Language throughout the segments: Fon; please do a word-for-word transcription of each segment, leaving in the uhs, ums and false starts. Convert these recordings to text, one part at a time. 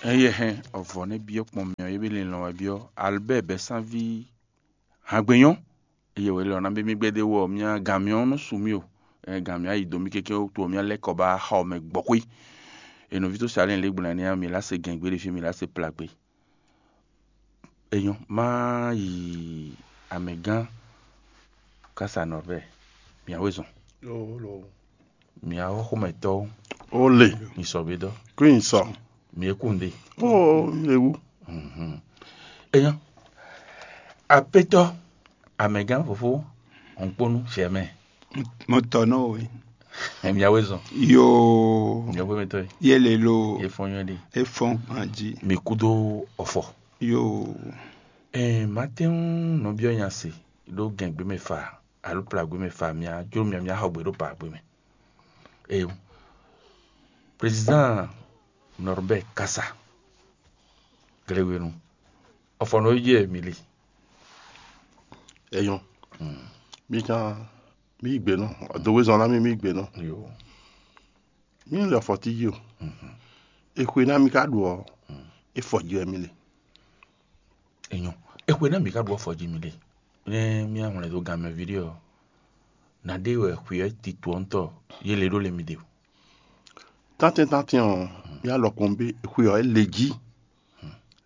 Eye hɛn, ɔvɔ nɛ byɔ́ kpɔn mì ɔ́, yě be linlɔn wɛ byɔ́ Albert Bɛsánví Hangbenyɔ́. Eye wɛ lɔ ná bé mì gbɛdé wɔ mía gan mì ɔ́ nɔ su mì o. Ɛ gan mì ayi dó mì kéké wútu ɔ́, mía lɛ́ kɔ ba xɔ mɛ gbɔxwé. E nɔví tó se alɛ lě gblɛn ní mì lá se gɛn gbé ɖé fí mì lá se pla gbé. E nyɔ́ má yi amɛgán Kasa Nɔrbɛ, mia wezɔn. Mia xɔxɔmɛtɔ́, ó lè. Mi sɔ bé dɔ. Kúnyìn sɔ. Mi e kún ɖe. Ó lè wú. Eyan, apetɔ, amɛgán fofó, hɔnkponu sɛ mɛ. Mo tɔ nɔ we. Mia wezɔn. Yo. Mia wezɔn tɔ. Ye le lo. Ye fɔn yɔ de. E fɔn anji. Mi kudo ɔfɔ. Yo. Ɛɛ, matɛn nɔ biɔ nya se ɖó gɛngbé mɛ fa alo plagbé mɛ fa mia jó mia mia xɔ gbé ɖó pagbé mɛ. Eyo. Président Norbert Kasa. Gléwénu. Ɔfɔnɔ yi jɛ mi li. Eyɔn. Mi kan mi yi gbe nɔ. Ɔdɔwezɔn na mi mi yi gbe nɔ. Yo. Mi lɛ fɔti yi o. Exwe na mi ka ɖu ɔ. Efɔ ji wɛ mi le. Enyɔ. Exwe na mi ka ɖu ɔfɔ ji mi le. Ne mi ahun le do gan mɛ vi ɖe ɔ. Na ɖe wɛ xwe ɛ ti to ɔntɔ ye le ɖo le mi de o. Tantɛn tantɛn ɔ, mi alɔ kɔn be xwe ɔ ele ji.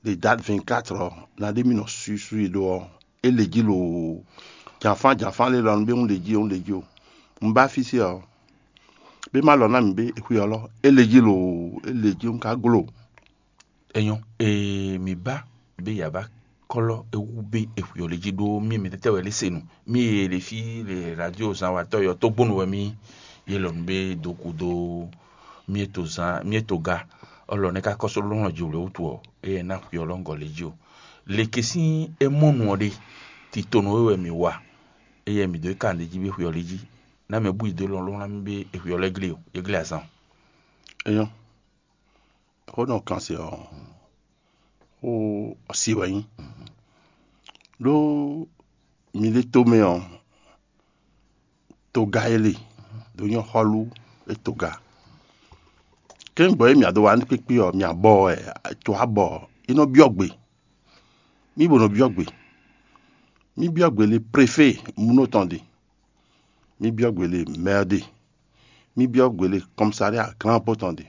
Le date vingt-quatre ɔ, na ɖe mi nɔ suisui ɖo ɔ, ele ji lo. Janfan janfan le lɔ nu be un le ji un le ji o. Un ba fi se ɔ, be ma lɔ na mi be xwe ɔ lɔ, ele ji lo, ele ji un ka glo. Enyɔ, ee, mi ba be ya ba kɔlɔ ewu be exwe ɔ le ji ɖó mi mi tɛtɛ wɛ le se nu. Mi ye le fi le radio zan watɔ yɔ to gbonu wɛ mi ye lɔ nu be do ku do mi e to zan mi e to ga ɔlɔ ne ka kɔsɔ lɔn ji wle wutu ɔ, eye na xwe ɔ lɔ ŋgɔ le ji o. Leke sin e mɔ nu ɔ ɖe, titonu e wɛ mi wa, eye mi do e kan ɖe ji be xwe ɔ le ji. Na mɛ bu yi do lɔn lɔn na mi be exwe ɔ lɛ gle o, ye gle azan. Enyɔ. Xó nɔ kan se ɔ, xó ɔsi wɛ nyí. Ɖó mi ɖé tomɛ ɔ, toga e le ɖó nyɔ́ xɔlú e toga. Kɛ́n gbɔ e mia do wa nú kpékpé ɔ, mia bɔ wɛ, to abɔ, é nɔ byɔ́ gbe. Mí bo nɔ byɔ́ gbe. Mí byɔ́ gbe le préfé munɔ tɔn ɖe. Mí byɔ́ gbe le mɛ́ ɖe. Mí byɔ́ gbe le kɔmsária glán bó tɔn ɖe.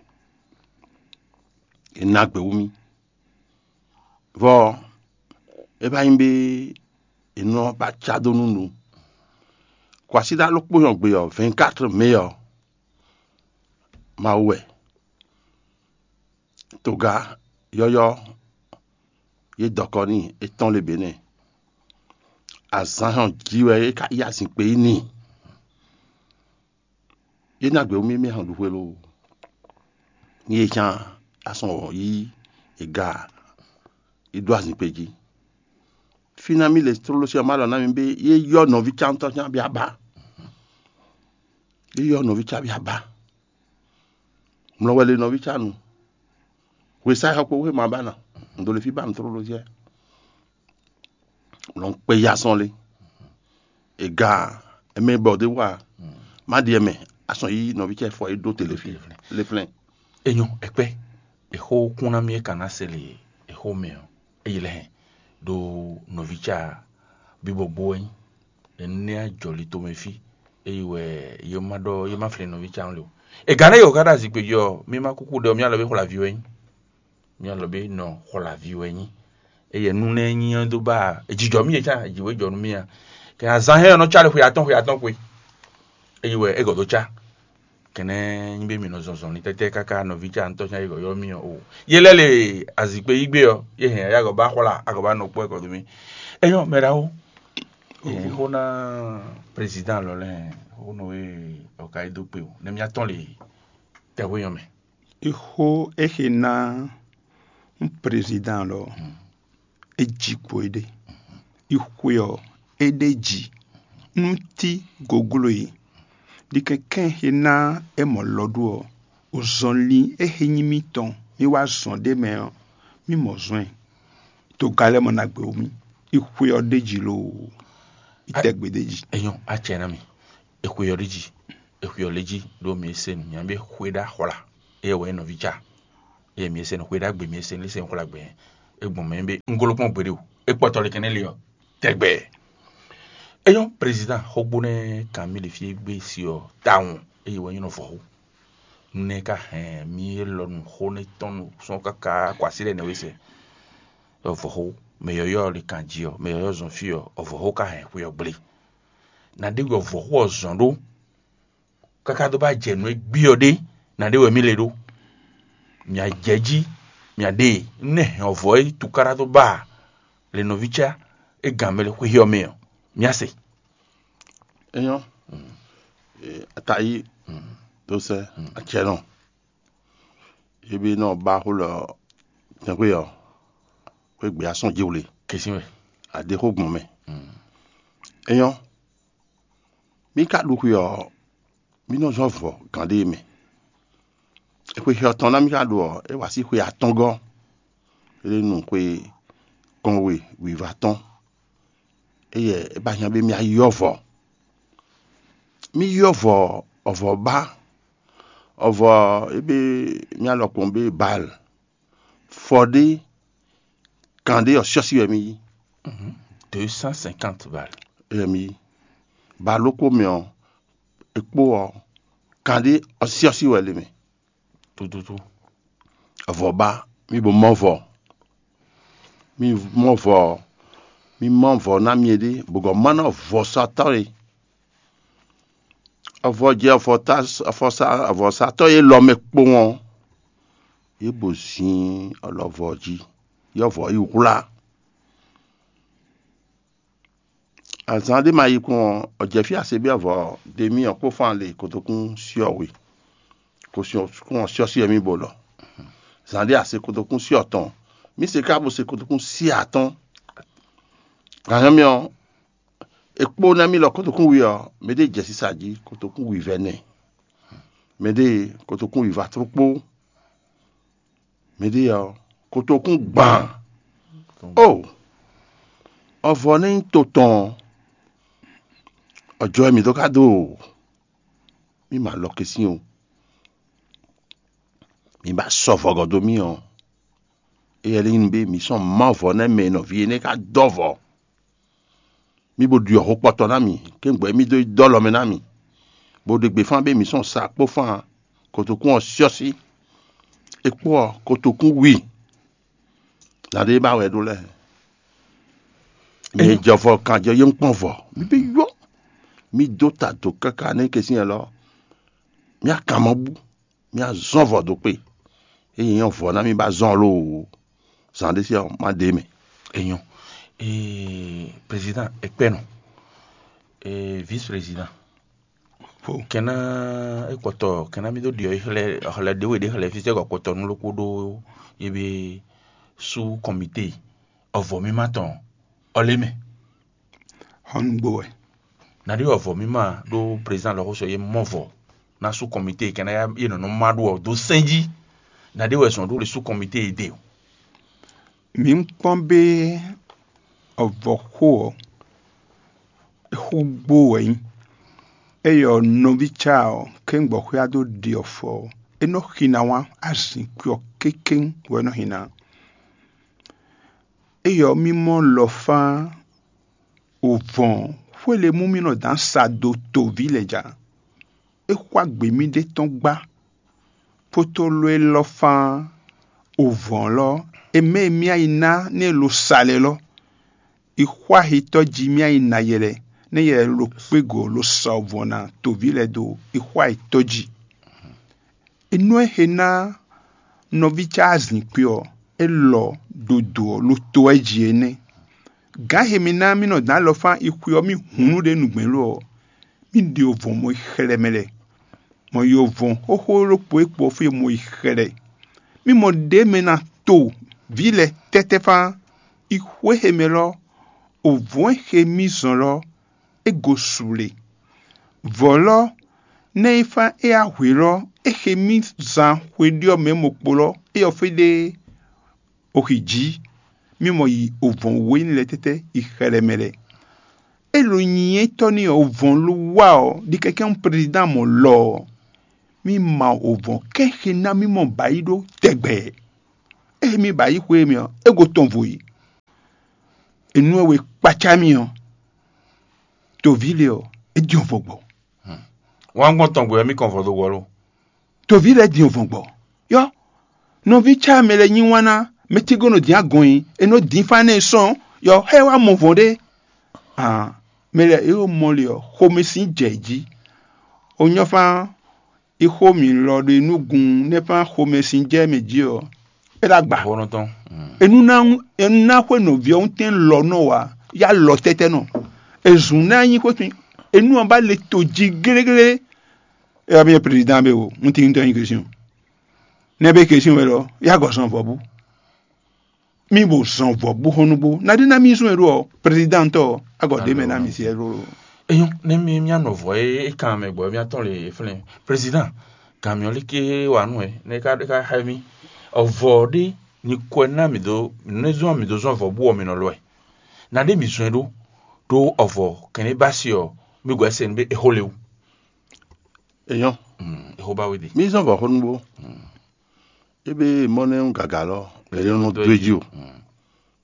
È nǎ gbě wú mì. Vɔ é vá nyí bé è nɔ ba cá dó nú nu. Kwasíɖá ɖokpó nyɔgbe ɔ́, vɛ̌nkátrɔ mɛ ɔ́, Mawu wɛ. Toga yɔ́yɔ́ yě dɔkɔ n'i é tɔ́n le bě nɛ́. Azǎn hɔn jí wɛ é ka yí azinkpe yi n'i. Yě ná gbě wú mì mì hɔn ɖu hwelú. Ní yě cán asɔn wɔ̌ yí è ga yi ɖó azinkpe jí. Fí ná mì le tlóló sí ɔ́, má ɖɔ ná mi bé yé yɔ́ nɔví cántɔ́ cán bí abá. Yé yɔ́ nɔví cá bí abá. Mlɔ wɛ le nɔví cá nu. Hwesá xɔ kpo wé ma ba na. Un ɖo le fí ba nu tlóló jɛ. Lɔn kpe ya sɔn le. Ega ɛmɛ bɔ de wa. Má ɖi ɛmɛ. Asɔn yi nɔví cɛ fɔ yi ɖó tele fi. Le flɛn. Enyɔ ɛkpɛ. Exó kún ná mì é kan ná se le exó mɛ ɔ. Eyi lɛ hɛn ɖo nɔví cá bí bɔ gbó wɛ nyí. Enú ní ajɔli tomɛ fí. Eyi wɛ yé má ɖɔ yé má flin nɔví cá le o. Ega nɛ yɔ ká ɖo azikpe jí ɔ, mí má kúkú ɖe ɔ, mí alɔ bí xwla ví wɛ nyí. Mí alɔ bí nɔ xwla ví wɛ nyí. Eye nú nɛ nyí ɔ́ dó ba ejijɔ mí yɛ cá ejiwé jɔ nú mí a. Kɛ azan hɛn ɔnɔ cá le xwe atɔn xwe atɔn xwe. Eyi wɛ egɔ dó cá. Kɛnɛ nyi be mi nɔ zɔnzɔn ni tɛtɛ kaka nɔvi ca ŋutɔ nya yi yɔ mi o. Ye lɛ le azikpe yi gbe ɔ, ye hɛn ya gɔ ba xwla agɔ ba nɔ kpɔ ɛkɔ domi. Enyɔ mɛ ɖawo. Xo na président lɔ lɛ, xo nɔ e ɔka yi do kpe o ne mia tɔn le tɛwé yɔ mɛ. Ixo exe ná ún président lɔ. E ji kpo é ɖe. Ixwe ɔ, é ɖe ji. Nú tí goglo e ɖi kɛnkɛn xe ná é mɔ lɔ ɖó ɔ, ozɔnlin e xe nyí mítɔn mí wá zɔn ɖé mɛ ɔ, mí mɔ zɔn ɛ. Toga lɛ́ɛ mɔ ná gbewú mì. Ixwe ɔ ɖe ji loo. Itɛgbe ɖe ji. Enyɔ acɛ na mi. Exwe ɔ ɖe ji. Exwe ɔ le ji ɖo mi se nu nya be xwe ɖa xwla. Eye wɔ nɔvi ca. Eye mi e se nɔ xwe ɖagbe, mi e se nɔ se nɔ xwlagbe, e gbɔn mɛ be un golo kpɔn gbeɖe o, e kpɔtɔ le kɛnɛ li ɔ tɛgbɛ. Eyɔn, président xogbo nɛ kan mi le fi gbe si ɔ tawun, eye wɛ nyɔnɔ vɔxo. Nɛ ka hɛn mi e lɔ nu xo ne tɔn nu sɔn kaka kwasi lɛ ne we se. Vɔxo, mɛ yɔyɔ le kan ji ɔ, mɛ yɔyɔ zɔn fi ɔ, vɔxo ka hɛn xwe ɔ gble. Na ɖe wɛ vɔxo ɔ zɔn ɖo káká dó bá jɛ nǔ e gbí ɔ́ ɖé, ná ɖe wɛ mì le ɖó. Mǐ a jɛ jí, mǐ a ɖe e nú é hɛn ɔ́ vɔ̌ é tukáɖá dó ba le nɔví cá é gǎn mɛ xwé ɔ́ mɛ ɔ́, mǐ a se. É nyɔ́, atayí dó sɛ́ acɛ́nɔ, é bí nɔ ba xó lɔ tɛnxwé ɔ́, xwé gbé asɔn jí wle. Kɛsin wɛ. Adé xó gbɔn mɛ. É nyɔ́, mí ka ɖu xwe ɔ́, mí nɔ zɔ́n vɔ̌ gǎn ɖé mɛ. Xwe xɛ ɔ́ tɔn ná mí ka ɖu ɔ́, é wá sí xwe atɔ́ngɔ́, é ɖe nu xwe kɔnwe wǐvá tɔn. Éyɛ́ é ba hɛn bé mí ayɔ́ vɔ̌. Mí yɔ́ vɔ̌, ɔvɔ̌ ba, ɔvɔ̌ é bé mí alɔ kpɔn bé Baal. Fɔ ɖé, kan ɖé ɔ́, syɔ́sí wɛ mí yí. Deux cent cinquante balles. Wɛ mí yí. Ba lókpó mɛ ɔ́, é kpó ɔ́, kan ɖé ɔ́, syɔ́sí wɛ lě mɛ. Tututu. Avɔ ba, mí bo mɔ vɔ. Mí mɔ vɔ, mí mɔ vɔ ná mí ɖé, bɔ gɔ̌ ma nɔ vɔ sɔtɔ́ e. Avɔ jɛ avɔta, avɔsa, avɔsatɔ́ e lɔ mɛ kpowun ɔ́, yě bo zin alɔvɔ jí, yɔ́vɔ yi hwlá. Azǎn ɖé ma yi kpɔ́n ɔ́, ɔ́ jɛ fí asebíɔ́vɔ ɖe mì ɔ́ kpó fán le kotokún syɔ́ we, kotokún ɔ́ syɔ́ syɔ́ mì bo lɔ. Zǎn ɖé ase kotokún syɔ́ tɔn, mì se ká bo se kotokún syɔ́ atɔ́n. Gǎn mì ɔ́, è kpó ná mì lɔ kotokún we ɔ́, mɛ ɖé jɛ sisa jí kotokún wivɛ́ nɛ, mɛ ɖé kotokún wiva tló kpó. Mɛ ɖé ɔ́, kotokún gban. O, ɔvɔ nɛ́ nyí to tɔn ɔ́, ɔjɔ wɛ mǐ dó ka dó o. Mí ma lɔ kɛ́syɛ́n o. Mǐ ba sɔ vɔgɔ dó mì ɔ́, éyɛ́ lɛ́ nyí bé mǐ sɔn má vɔ̌ nɛ́ mɛ e nɔví énɛ́ ka dɔ́ vɔ̌. Mí bo ɖyɔ ho kpɔtɔ ná mì, kéŋgbɛ́ mí dó yi dó alɔ mɛ ná mì, bó ɖe gbe fán bé mǐ sɔn sa kpó fán kotokún ɔ́ syɔ́sí. É kpó ɔ́, kotokún wi. Nya ɖé ba wɛ ɖó lɛ́ɛ. Mí jɔ vɔ kan jɔ yé kpɔ́n vɔ. Mí bí yó. Mí dó ta dǒ káká nɛ́ kɛ́syɛ́n lɔ. Mí akan mɔ bú. Mí azɔn vɔ dó kpé. Eye nyɔ vɔ ná mí ba zɔn loo. Zan ɖé sí ɔ́, má ɖe mɛ. Enyɔ. Ee, président ekpɛnɔ, ee, vice président. Kɛnɛ ekpɔtɔ kɛnɛ mi dó ɖiɔ xlɛ xlɛ ɖé we ɖé xlɛ fi sɛgɔ kpɔtɔ nu lókpó ɖó yebe sú kɔmité ɔvɔ mi ma tɔn ɔlé mɛ. Xɔnugbo wɛ. Naɖi ɔvɔ mi ma ɖó président lɔ xóso ye mɔ vɔ na sú kɔmité kɛnɛ ye nɔnɔ ma ɖó ɔ dó sɛn jí. Naɖi wɛ zɔn ɖó le sú kɔmité ye de o. Mǐ kpɔ́n bé ɔvɔxó ɔ́, é xú gbó wɛ nyí. Eye ɔ́, nɔví cá ɔ́, kéŋgbɔxwé á dó ɖi ɔfɔ ɔ́, é nɔ́ xi ná wá azǐn kú ɔ́ kékéŋ wɛ é nɔ́ xi ná. Eye ɔ́, mí mɔ lɔfá ovɔn xwé le mú mì nɔ dǎn sa dó toví lɛ́ɛ ja. É xwá gbe mì ɖé tɔn gbá. Potolo élɔ́ fán ovɔn lɔ, e mɛ e mì ayi ná nɛ lo sa lɛ lɔ, yi xwá hitɔ́ jí mì ayi ná yɛ lɛ, nɛ yɛ lo kpégo lo sa ovɔn ná toví lɛ dó yi xwá hitɔ́ jí. Nú e xe ná nɔví cá azǐnkpi ɔ́, é lɔ ɖo dǒ ɔ́ lo to wɛ jí é nɛ́. Gǎn he mi ná mì nɔ dǎn alɔ fán yi xwe ɔ́ mì hǔnnu ɖé nǔgbɛ́n lo ɔ́, mì ɖi ovɔn mɔ yi xlɛ́ mɛ lɛ́ɛ. Mɔ yi ovɔn xóxó ɖokpó e kpo ɔ́ fí e mɔ yi xlɛ́. Mì mɔ ɖě mɛ ná to vǐ lɛ́ɛ tɛ́tɛ́ fán yi xwé he mɛ lɔ, ovɔn e xe mì zɔn lɔ, é gosu le. Vɔ̌ lɔ, nɛ́ e fán é yá hwe lɔ, é xe mì zan xweɖyɔ́ mɛ mɔkpo lɔ, é yɔ fí ɖé oxi jǐ, mì mɔ yi ovɔn wǒ nyí lɛ́ɛ tɛ́tɛ́ yi xɛlɛ mɛ lɛ́ɛ. É lo nyi étɔ́ n'i ɔ́, ovɔn lo wá ɔ́, ɖi kɛ́kɛ́ nú prezidán mɔ lɔ ɔ́, mì ma ovɔn kɛ́xi ná mì mɔ bǎyi ɖó tɛgbɛ. Émi ba yi xwé mi ɔ́, é go tɔn vo yi. Enú e we kpacá mi ɔ́, toví lé ɔ́, é din vɔgbɔ. Wǎn gbɔn tɔn gbe wɛ mí kɔn vɔ dó wɔ lo. Toví lɛ́ɛ din vɔgbɔ. Yɔ, nɔví cá mɛ lɛ́ɛ nyi wán ná, mɛ tí gɔ́ nɔ dín agɔn nyi, è nɔ dín fá nɛ sɔn, yɔ xɛ wá mɔ vɔn ɖé. Ah, mɛ lɛ́ɛ é mɔ le ɔ́, xomɛ sín jɛ jí. O nyɔ́ fán, ixo mǐ lɔ ɖe nú gun nɛ́ fán xomɛ sín jɛ mɛ jí ɔ́, é ɖo agba. Xɔnɔtɔn. Enu ná enu ná xwe nɔví ɔ́ ŋutɛn lɔ nɔ wá, yá lɔ tɛ́tɛ́ nɔ. Ezun ná nyí xwétun, enu ɔ́ ba le to jí gléglé. É wá mi nyɛ président be o, un tin tɔn nyi question. Nɛ be question wɛ lɔ, yá gɔ zɔn vɔbu. Mi bo zɔn vɔbu hɔn nugbo. Na ɖé ná mi zɔn e ɖo ɔ, président tɔ, agɔ ɖe mɛ ná mi si ɛ ɖo. Eyɔn, ne mi mía nɔ vɔ e é kan mɛ gbɔ mía tɔn le flɛn. Président, kan miɔ lé ké wa nú ɛ, ne ka ka xɛ mi. Ɔvɔ ɖé ni kɔɛ ná mi do ne zɔn mi do zɔn vɔ bu ɔ mi nɔ lɔ ɛ. Na ɖé mi zɔn ɛ ɖó ɖó ɔvɔ kɛnɛ ba si ɔ, mi gɔ ɛsɛ be exo le wu. Eyɔn, Mm, exo ba we de. Mi zɔn vɔ xó nugbo. Ebe mɔ nɛ ń gàgà lɔ, ebe nɔ dó ɛ jí o.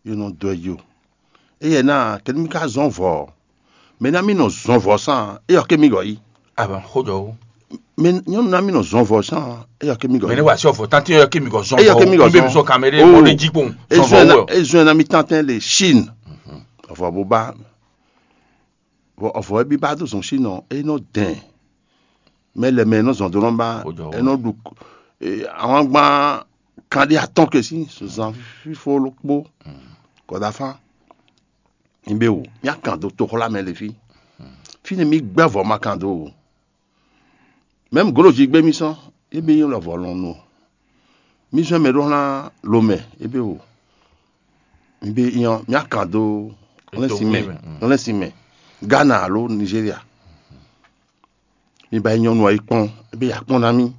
Ebe nɔ dó ɛ jí o. Eye ná kɛ́ní mi ka zɔn vɔ ɔ, mɛ ná mi nɔ zɔn vɔ sán, eyɔ ké mi gɔ yí. Aban xó jɔ wo. Mɛ nyɔnu ná mi nɔ zɔn vɔ sán, eyɔ ké mi gɔ Mɛ ne yí. Wa si ɔfɔ tanti yɔ kemi gɔ zɔn. Eyɔ kemi gɔ Mɛ zɔn. Mi sɔ kamɛ de Oh. Mɔ de jí kpɔn. Zɔn Ezɔn vɔ ná wɔ. Ezɔn ná mi tantɛn le Chine. Ɔfɔ bó bá. Vɔ ɔfɔ ɛ bí bá dó zɔn Chine ɔ, é nɔ dɛn. Mɛ lɛ mɛ nɔ zɔn dó nɔ ba Ó jɔ wɔ. Ɛ nɔ ɖu eh, àwọn agban kan ɖé atɔn ke sí zan fífó ló kpó kɔdafán. Nyi bé wò mía kan dó toxlá mɛ le fí. Fínɛ́ mí gbɛ́ vɔ̌ ma kan dó o. Mɛ̌m gǒɖojí gbé mì sɔ́, é bí nyí lɔvɔ̌ lɔn nu o. Mì zɔ́n mɛ ɖó hlán lomɛ, é bí o. Mi bí nyɔ́, mì akan dó hlɛ́nsin mɛ, hlɛ́nsin mɛ, Ghana alo Nizéria. Mi ba yi nyɔ́nu ɔ́ yi kpɔ́n, é bí ya kpɔ́n ná mì.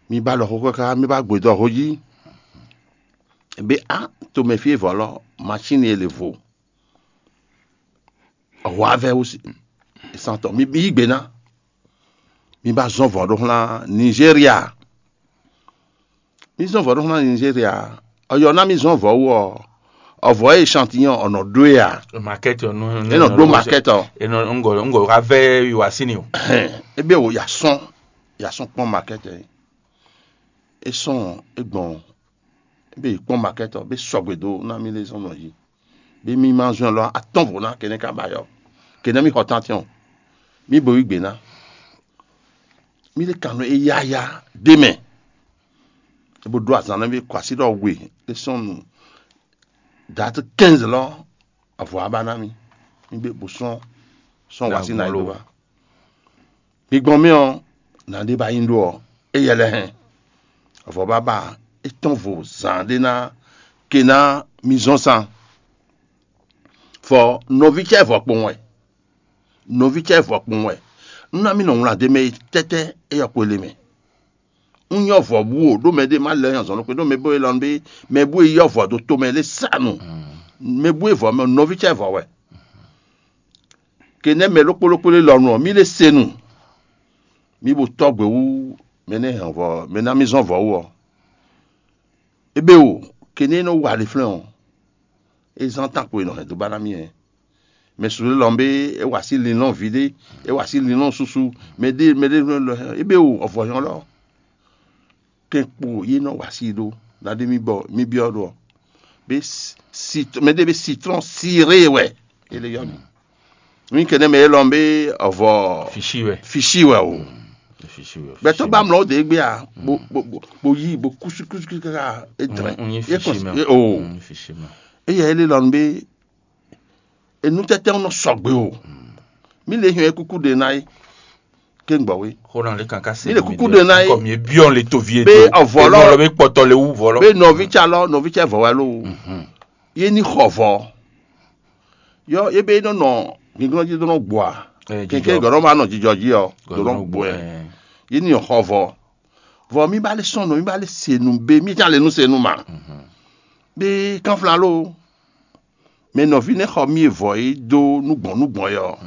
Mi ba ɖɔ xó káká, mi ba gbedɔ xó jí. É bí á, tomɛ fí e vɔ̌ lɔ, masín e lě vo. Hwavɛ wú santɔ mi yí gbe ná. Mi ba zɔn vɔ̌ ɖó xlán Nizéria. Mi zɔn vɔ̌ ɖó xlán Nizéria. Ɔyɔ ná mi zɔn vɔ̌ wú ɔ, ɔvɔ̌ e chantinyɔn ɔ nɔ ɖó e a? Market ɔ nú É nɔ ɖó market ɔ. É nɔ ŋgɔ ŋgɔ wá vɛ yi wá sí ni o. Hɛn, ebe wo ya sɔn ya sɔn kpɔn market ɛ. É sɔn é gbɔn ebe yi kpɔn market ɔ, be sɔgbe dó ná mi lé zɔn nɔ yi. Bí mì ma zɔn lɔ atɔ́n vo ná kɛnɛ́ ka ba yɔ. Kɛnɛ́ mì xɔ tántiɔn. Mì bo yí gbe ná. Mì lé kan nɔ é yáyá ɖé mɛ. É bó ɖó azǎn nɔ mì kɔ así ɖɔ we é sɔ́n nu. Date quinze lɔ avɔ aba ná mì. Mì bé bo sɔ́n sɔ́n wá sí ná yi dó ba. Mi gbɔn mì ɔ́, nǎ ɖé ba nyi ɖó ɔ́, éyɛ́ lɛ́ɛ hɛn. Vɔ̌ bábá é tɔ́n vo zǎn ɖé ná ke ná mi zɔ́n san. Fɔ nɔví cɛ vɔ kpowun wɛ. Nɔví cɛ vɔ kpowun wɛ. Nú ná mi nɔ wlán ɖ'é mɛ tɛ́tɛ́ é yɔ kpele mɛ. Un nyɔ́ vɔ̌ bú o, ɖó mɛ ɖé má lɛ́ nyi azɔ̌ nú xwé, ɖó mɛ bú e lɔ nú bé mɛ bú e yɔ́ vɔ̌ ɖó tomɛ lé sa nu. Mɛ bú e vɔ̌ mɛ nɔví cɛ vɔ̌ wɛ. Ke nɛ́ mɛ ɖokpó ɖokpó lé lɔ nu ɔ́, mì lé se nu. Mì bo tɔ́ gbe wú mɛ nɛ́ hɛn vɔ̌ mɛ ná mì zɔ́n vɔ̌ wú ɔ́. Ébé o, ke nɛ́ é nɔ wa ɖe flɛ́n ɔ́, é zán tán ko e nɔ hɛn dó ba ná mì ɛ. Mɛ su lɔ bé é wa sí linlɔ́n ví ɖé, é wa sí linlɔ́n susu, mɛ ɖé mɛ ɖé lɔ ébé o, ɔvɔ nyɔ lɔ. Kɛn kpo yé nɔ wa sí ɖó ɖaɖé mì bɔ mì byɔ́ ɖo ɔ́. Bé si mɛ ɖé bé citron siré wɛ é lé yɔ mì. Mì kɛnɛ mɛ élɔ́ bé ɔvɔ Fishi wɛ. Fishi wɛ o. Fishi wɛ. Gbɛtɔ ba mlɔ de gbe a bo bo bo- bo yi bo kusu kusu kusu kaka e drɛ. Un yi Ye fishi kɔn- mɛ. ye- o. Un yi fishi mɛ. Eya ele lɔn be enu tɛtɛ nɔ sɔgbe o. Mi le hiɛ kuku de na ye. Ke gbɔ we. Xona le kankan se. Mi le kuku de na ye. Kɔmi ebiɔ le tovi e Be do. Avɔ lɔ- Enɔ lɔ be kpɔtɔ le wu vɔ lɔ. Be nɔvi tsa lɔ nɔvi tsa vɔ wa lo. Ye ni xɔ vɔ. Yɔ ye be nɔ nɔ gbinglɔn ji do nɔ gbɔ a. Keke gɔdɔ ma nɔ jijɔ ji ɔ do nɔ gbɔ ɛ. Ye ni xɔ vɔ. Vɔ mi ba le sɔn nɔ mi ba le se nu be mi tsa le nu se nu ma. Be kanfla lo. Mɛ nɔví nɛ́ xɔ mì e vɔ̌ é dó nú gbɔn nú gbɔn é ɔ́,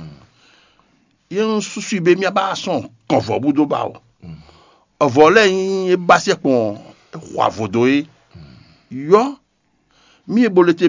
yě un súsú i bé mì ba sɔn kɔn vɔ̌ bú dó ba o. Vɔ̌ lɛ́ɛ nyí é bá sɛ́ kpɔn é xɔ avo dó é. Yɔ́ mì e bo le te